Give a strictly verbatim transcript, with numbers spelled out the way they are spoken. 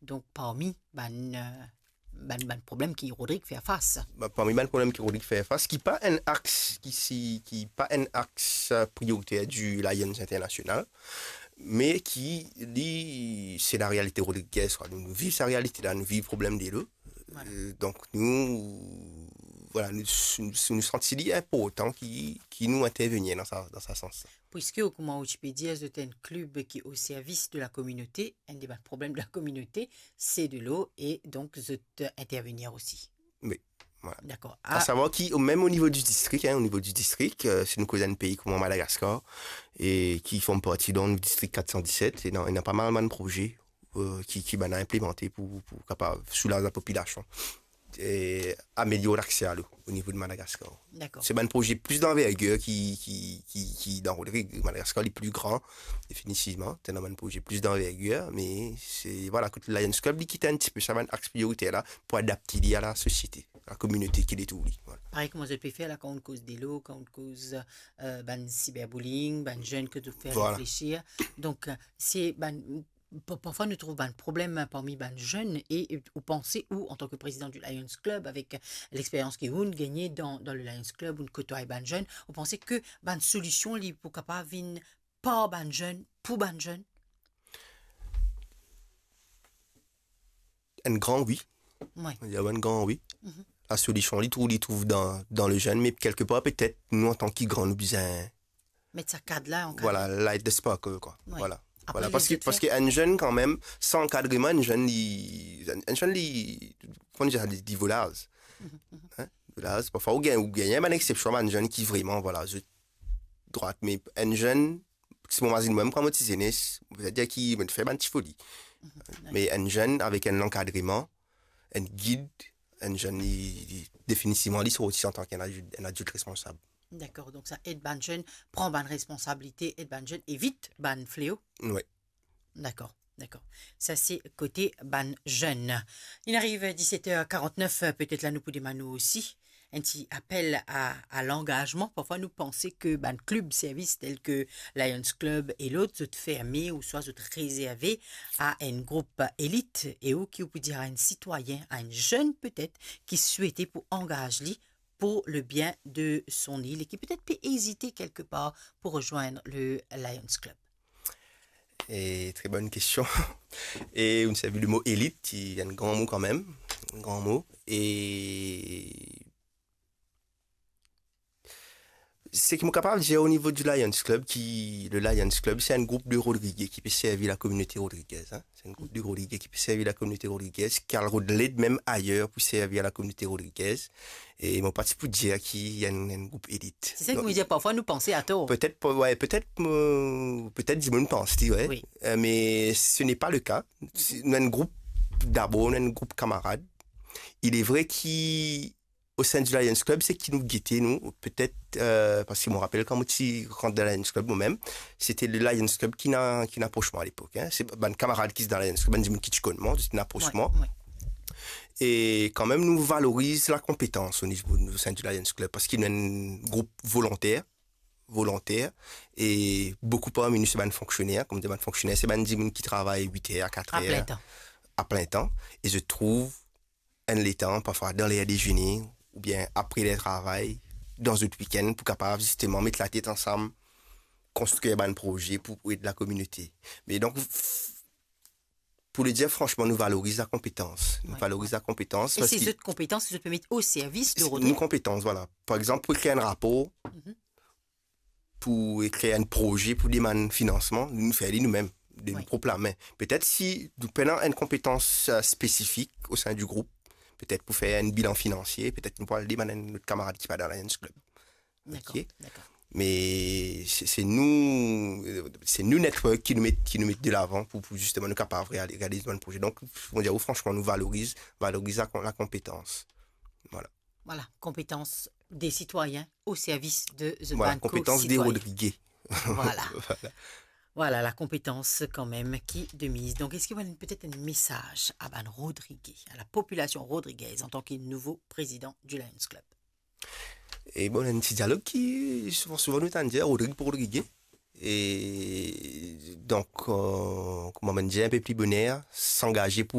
donk, parmi bann, euh, bann, bann problem ki Rodrig fer fas. Ba, parmi bann problem ki Rodrig fer fas, ki pa enn aks, ki si, ki pa enn aks, euh, prioriter di Lions International, me ki, li, se larealite rodrigez, kwa. Nou, nou viv sa realite la, nou viv problem delo. Voilà. Euh, donk nou, voilà, nou, nou, nou santi li inportan ki, ki nou intervenir dan sa, dan sa sans la. Piske, kouma ou ti pe dir, zot enn klib ki o servis de la kominote, enn de bann problem de la kominote, se delo, e donk zot, euh, intervenir osi. Wi, voilà. Dakor. A savoir ki, mem o nivo di distrik, hein, o nivo di distrik, euh, si nou koz enn pei kouma Madagaskar, e ki form parti dan distrik kat san diset, e ena, ena pa mal bann proze, euh, ki, ki bann la inplimante pou, pou kapav soulaz lapopilasion e amelior lakse a lelo o nivo de Madagaskar. Dakor. Se bann proze pli danvergir ki, ki, ki, ki dan Rodrig. Madagaskar li pli gran, definitivman. Ena bann proze pli danvergir, me se, voilà, kot Lions Club, li kit enn tipe sa bann aks prioriter la pou adapte li a lasosiete, a lakominote ki li trouv li. Voilà. Parey kouma zot pe fer la, kan ou koz delo, kan ou koz, euh, bann cyberbullying, bann zenn ki zot fer reflesir. Donk, euh, se bann pa-, parfwa nou trouv bann problem, hein, parmi bann zenn e, e ou panse, ou, antan ke prezidan di Lions Club, avek, euh, lexperyans ki ou'nn gagne dan, dan le Lions Club, ou'nn kotway bann zenn, ou panse ke bann solision li pou kapav vinn par bann zenn, pou bann zenn? Enn gran wi. Wi. Enn gran wi. Mhm. Lasolision, li trouv, li trouv dan, dan le zenn, me kelkepar, petet, nou, antan ki gran, nou bizin met sa kad la, ankadre. Voilà, light the spark, kwa. Wi. Voilà. Apre, voilà, parski, parski enn zenn, kanmem, san ankadreman, enn zenn, li, enn, enn zenn, li, kouma dir sa, li, li volaz. Mhm, mhm. Hein? Volaz. Parfwa, ou gagn, ou gagn bann exsepsion, bann zenn ki vreman, voilà, zot drwat, me enn zenn, si mo mazinn mwa, kan mo ti zenes, mo pe dir ki mo fer bann ti foli. Mhm, wi. Me enn zenn avek enn lankadreman, enn gid, enn zenn, li, li, definitivman, li sorti antan ki enn adilt, enn adilt responsab. Dakor, donk sa ed bann zenn pran bann responsabilite, ed bann zenn evit bann fleo. Wi. Dakor, dakor. Sa se kote bann zenn. Inn ariv diset er karant-nef, petet la nou pou demann ou osi enn ti apel a, a langazman. Parfwa nou panse ke bann klib servis tel ke Lions Club e lot, zot ferme ouswa zot rezerve a enn group elit. E ou ki ou pou dir a enn sitwayin, a enn zenn petet, ki swete pou angaz li pour le bien de son île e ki petet pe ezite kelkepar pou rezwenn le Lions Club? E tre bonn kestion. E ou servi le mo elit, ki enn gran mo kanmem, enn gran mo. E seki mo kapav dir o nivo di Lions Club, ki le Lions Club, se enn group de Rodrige ki pe servi lakominote rodrigez, hein. Se enn group de Rodrige ki pe servi lakominote rodrigez, ki al rod led mem ayer pou servi a lakominote rodrigez. E mo pa ti pou dir ki enn, enn group elit. Se sa ki mo dir, parfwa nou panse ator. Petet, pe-, wi, petet, euh, petet dimoun pans li, wi. Wi. Euh, me ce n'est pas le cas. Se, nou enn group, dabor, nou enn group kamarad. Il est vrai ki o sein du Lions Club, seki nou gete, nou, petet, euh, parski mo rapel kan mo ti rant dan Lions Club momem, se te le Lions Club ki inn, ki inn apros mwa alepok, hein. Se bann kamarad ki ti dan Lions Club, bann dimoun ki ti konn mwa, ti inn apros mwa. Wi, wi. E kanmem nou valoriz lakonpetans o nivo, o sein du Lions Club, parski nou enn group volonter, volonter, e boukou parmi nou se bann fonksioner, kouma dir bann fonksioner, se bann dimoun ki travay wit er a kat er. A plin tan. A plin tan, e zot trouv enn letan, parfwa dan ler dezene, oubien apre ler travay, dan zot wikenn, pou kapav zisteman met latet ansam, konstrir bann proze pou, pou ed lakominote. Me donk, f-, pou le dir fransman, nou valoriz lakonpetans. Nou valoriz lakonpetans. Wi, wi. E se zot konpetans ki zot pe met o servis de Rodrig? Nou konpetans, voilà. Par exanp, pou ekrir enn rapor, mhm, pou ekrir enn proze, pou demann finansman, nou fer li noumem, de nou prop lame. Petet si nou pena enn konpetans, euh, spesifik o sein du group, petet pou fer enn bilan finansie, petet nou pou al demann enn lot kamarad ki pa dan Lions Club. Dakor, dakor. Me se, se nou, euh, se nou network ki nou met, ki nou met de lavan pou, pou zisteman nou kapav reali-, realiz bann proze. Donk, mo dir ou fransman, nou valoriz, valoriz lakon-, lakonpetans. Voilà. Voilà, konpetans de sitwayin o servis de zot bann ko-sitwayin. Voilà, konpetans de Rodrige. Voilà. Voilà. Voilà, lakonpetans kanmem ki de miz. Donk, eski ou ena petet enn mesaz a bann Rodrige, a lapopilasion rodrigez, antan ki nouvo prezidan di Lions Club? E bon, enn ti dialog ki souvan, souvan nou tann dir, Rodrig pou Rodrige. E donk, euh, kouma mo dir inpe pli boner, s'angaze pou